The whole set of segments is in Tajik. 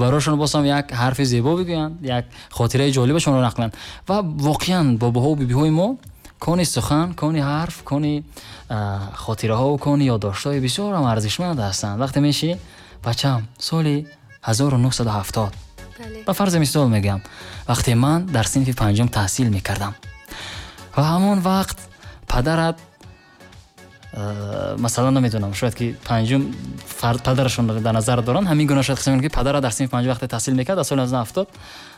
Барошон боз ҳам як ҳарфи зебо бигӯянд, як хотираи ҷолибашонро нақл кунанд. Ва воқеан бобоҳо бибиҳои мо кони сухан, кони ҳарф, кони хотираҳо ва кони ёддоштҳои бисёр ҳам арзишманд ҳастанд. Вақте мешинӣ, бачаам, соли 1970, ба фарзи мисол мегӯям, вақте ман дар синфи панҷум таҳсил мекардам ва ҳамон вақт падарат, масалан, намедонам, шояд ки панҷум падарашон дар назар доранд, ҳамин гуна шояд қисм ки падарат дар синфи панҷум вақте таҳсил мекард, дар соли 1970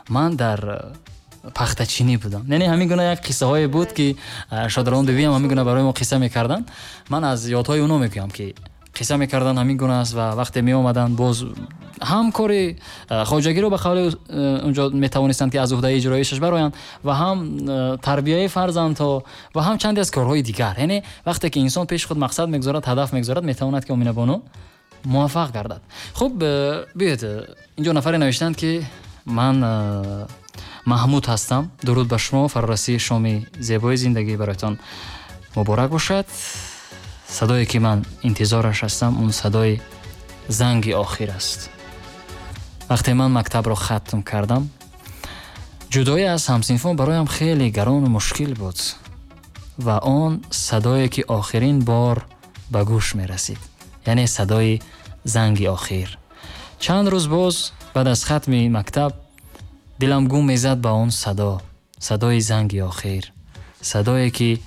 ман дар пахтачинӣ будам. Яъне ҳамин гуна як қиссаҳое буд, ки шодарон бибиам ҳамин гуна барои мо қисса мекарданд. Ман аз ёдҳои оно мегӯям, ки қисса мекарданд, ҳамин гуна аст. Ва вақте меомаданд, боз ҳам кори хоҷагиро ба қавли унҷо метавонистанд, ки аз уҳдаи иҷроишаш бароянд, ва ҳам тарбияи фарзандҳо, ва ҳам чанде аз корҳои дигар. Яъне вақте ки инсон пеши худ мақсад мегузорад, ҳадаф мегузорад, метавонад, ки, Оминабону, муваффақ гардад. Хуб, биёед, инҷо нафаре навиштанд, ки ман Маҳмуд ҳастам, дуруд ба шумо, фарорасии шоми зебои зиндагӣ бароятон муборак бошад. Садое ки ман интизораш ҳастам, он садои занги охир аст. Вақте ман мактабро хатм кардам, ҷудоӣ аз ҳамсинфон бароям хеле гарону мушкил буд ва он садое ки охирин бор ба гӯш мерасид, яъне садои занги охир. Чанд рӯз боз баъд аз хатми мактаб дилам гум мезад ба он садо, садои занги охир, садое ки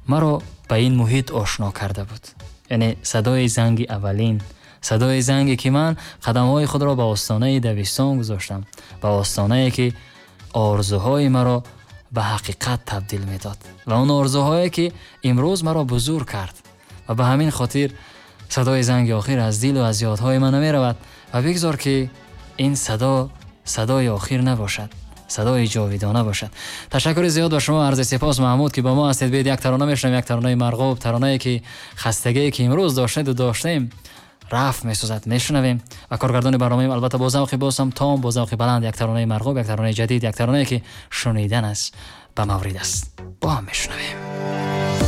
маро ба ин муҳит ошно карда буд, яъне садои занги аввалин, садои занге ки ман қадамҳои худро ба остонаи дабистон гузоштам, ба остонае ки орзуҳои маро ба ҳақиқат табдил медод ва он орзуҳое ки имрӯз маро бузург кард. Ва ба ҳамин хотир садои занги охир аз дилу аз ёдҳои ман намеравад. Ва бигзор, ки ин садо садои охир набошад, садои ҷовидона бошад. Ташаккури зиёд ба шумо, арзи сипос, Маҳмуд, ки бо мо ҳастед. Биёед, як тарона мешунавем, як таронаи марғуб, таронае ки хастагие ки имрӯз доштеду доштем, рафт месозад. Мешунавем ва коргардони барномаем, албатта, бо завқи бозам том, бо завқи баланд, як таронаи марғуб, як таронаи ҷадид, як таронае ки шунидан аст ба маврид аст. Бо ҳам мешунавем.